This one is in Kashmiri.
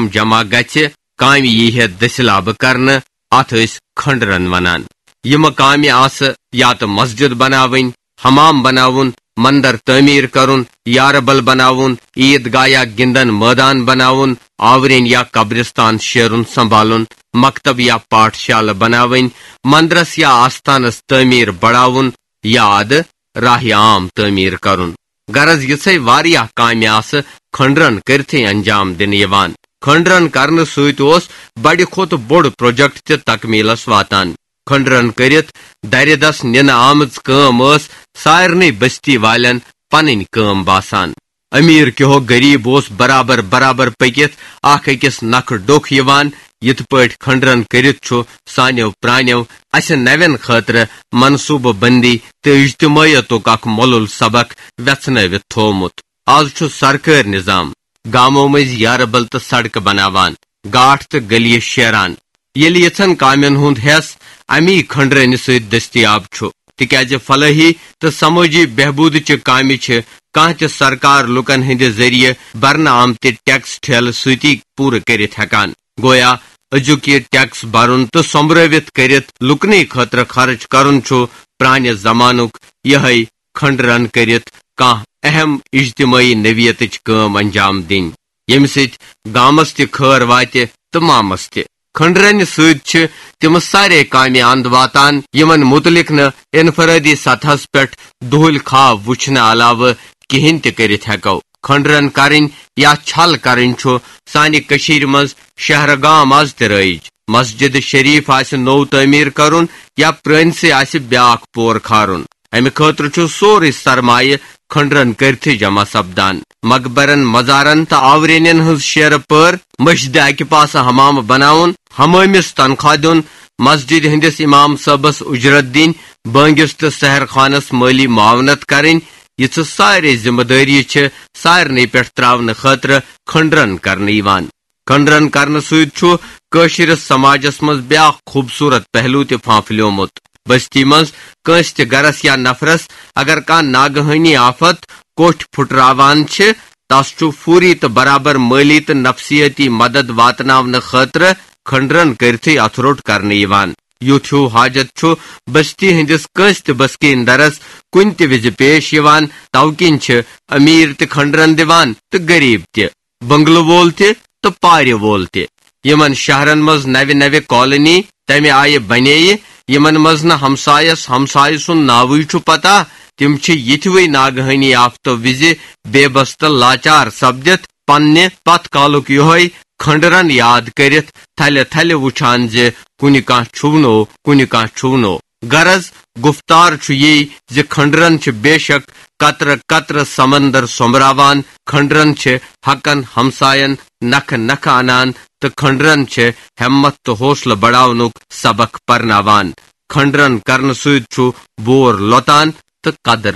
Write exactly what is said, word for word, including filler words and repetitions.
جمع گژھِ، کامہِ ییہِ ہے دٔسِلابہٕ کرنہٕ، اتھ ٲسۍ کھنڈرن ونان۔ یِمہٕ کامہِ آسہٕ یا تہٕ مسجد بناوٕنۍ، حمام بناوُن، مندر تعمیٖر کرُن، یارٕ بل بناوُن، عیٖد گاہ یا گِنٛدن مٲدان بناوُن، آورٮ۪ن یا قبرستان شیرُن سنبھالُن، مکتب یا پاٹھ شالہٕ بناوٕنۍ، مندرس یا آستانس تعمیٖر بڑاوُن، یاد راہ عام تعمیٖر کرُن۔ غرض یِژھے واریاہ کامہِ آسہٕ کھنڈرن کٔرتھٕے انجام دِنہٕ یِوان۔ کھنڈرن کرنہٕ سۭتۍ اوس بڑِ کھۄتہٕ بوٚڑ پروجیکٹ تہِ تکمیلس واتان۔ کھنڈرن کٔرِتھ درِ دس نِنہٕ آمٕژ کٲم ٲس سارنٕے بستی والٮ۪ن پنٕنۍ کٲم باسان۔ امیر کیو غریب اوس برابر برابر پٔکِتھ اکھ أکِس نکھٕ ڈوٚکھ یِوان۔ یِتھ پٲٹھۍ کھنڈرن کٔرِتھ چھُ سانیو پرانیو اسہِ نوٮ۪ن خٲطرٕ منصوٗبہٕ بندی تہٕ اجتماعیتُک اکھ مۄلُل سبق وٮ۪ژھنٲوِتھ تھوومُت۔ از چھُ سرکٲرۍ نظام، گامو مٔنٛزۍ یارٕ بل تہٕ سڑکہٕ بناوان، گاٹھ تہٕ گلی شیران۔ ییٚلہِ یِژھن کامٮ۪ن ہُنٛد حصہٕ امی کھنڈرٲنہِ سۭتۍ دٔستیاب چھُ، تِکیازِ فلٲحی تہٕ سمٲجی بہبوٗدٕچہِ کامہِ چھِ کانٛہہ تہِ سرکار لوٗکن ہٕنٛدِ ذٔریعہٕ برنہٕ آمتہِ ٹیکس ٹھیلہٕ سۭتی پوٗرٕ کٔرِتھ ہٮ۪کان۔ گویا أزیُک یہِ ٹیکس برُن تہٕ سۄمبرٲوِتھ کٔرِتھ لوٗکنٕے خٲطرٕ خرٕچ کرُن چھُ پرٛانہِ زمانُک یِہوٚے کھنڈرن کٔرِتھ کانٛہہ اہم اجتمٲعی نوعیتٕچ کٲم انجام دِنۍ، ییٚمہِ سۭتۍ گامس تہِ خٲر واتہِ تہٕ مامس تہِ۔ کھنڈرنہِ سۭتۍ چھِ تِم سارے کامہِ اند واتان، یِمن مُتعلق نہٕ انفرٲدی سطحس پٮ۪ٹھ دُہٕلۍ خواب وٕچھنہٕ علاوٕ کِہینۍ تہِ کٔرِتھ ہٮ۪کو۔ کھنڈرن کرٕنۍ یا چھل کرٕنۍ چھُ سانہِ کٔشیٖرِ منٛز شہرٕ گام از تہِ رٲیِج۔ مسجد شریف آسہِ نوٚو تعمیٖر کرُن یا پرٛٲنسٕے آسہِ بیاکھ پور کھارُن، امہِ خٲطرٕ چھُ سورُے سرمایہِ کھنڈرن کٔرتھٕے جمع سپدان۔ مقبرن، مزارن تہٕ آورینین ہٕنٛز شیرٕ پٲر، مسجدِ اکہِ پاسہٕ حمامہٕ بناوُن، حمٲمِس تنخواہ دیُن، مسجدِ ہٕنٛدِس امام صٲبس اجرت دِنۍ، بٲنگِس تہٕ سحر خانس مٲلی معاونت کرٕنۍ، یِژھٕ سارے ذمہٕ دٲری چھِ سارنٕے پٮ۪ٹھ تراونہٕ خٲطرٕ کھنڈرن کرنہٕ یِوان۔ کھنڈرن کرنہٕ سۭتۍ چھُ کٲشرِس سماجس منٛز بیاکھ خوٗبصوٗرت پہلو تہِ پھانپھلیومُت۔ بستی منٛز کٲنٛسہِ تہِ گرس یا نفرس اگر کانٛہہ ناگہٲنی آفت کوٹھۍ پھُٹراوان چھِ، تس چھُ فوری تہٕ برابر مٲلی تہٕ نفسیٲتی مدد واتناونہٕ خٲطرٕ کھنڈرن کٔرتھٕے اتھٕ روٚٹ کرنہٕ یِوان۔ یُتھ ہیوٗ حاجت چھُ بستی ہٕنٛدِس کٲنٛسہِ تہِ بسکیٖن درس کُنہِ تہِ وِزِ پیش یِوان، توٕ کِنۍ چھِ امیر تہِ کھنڈرن دِوان تہٕ غریب تہِ، بنگلہٕ وول تہِ تہٕ پارِ وول تہِ۔ یِمن شہرن منٛز نوِ نوِ کالونی تمہِ آیہِ بنییہِ، یِمن منٛز نہٕ ہمسایس ہمسایہِ سُنٛد ناوٕے چھُ پتہ، تِم چھِ یِتھوٕے ناگہٲنی آفتو وِزِ بے بس تہٕ لاچار سپدِتھ پننہِ پتھ کالُک یِہوٚے کھنڈرن یاد کٔرِتھ تھلہِ تھلہِ وُچھان زِ کُنہِ کانٛہہ چھُونو، کُنہِ کانٛہہ چھُونو۔ غرض، گُفتار چھُ یی زِ کھنڈرن چھِ بے شک قطرٕ قطرٕ سمندر سۄمبراوان، کھنڈرن چھِ حقن ہمساین نکھٕ نکھٕ انان تہٕ کھنڈرن چھِ ہمت تہٕ حوصلہٕ بڑاونُک سبق پرناوان۔ کھنڈرن کرنہٕ سۭتۍ چھُ بور لۄتان تہٕ قدر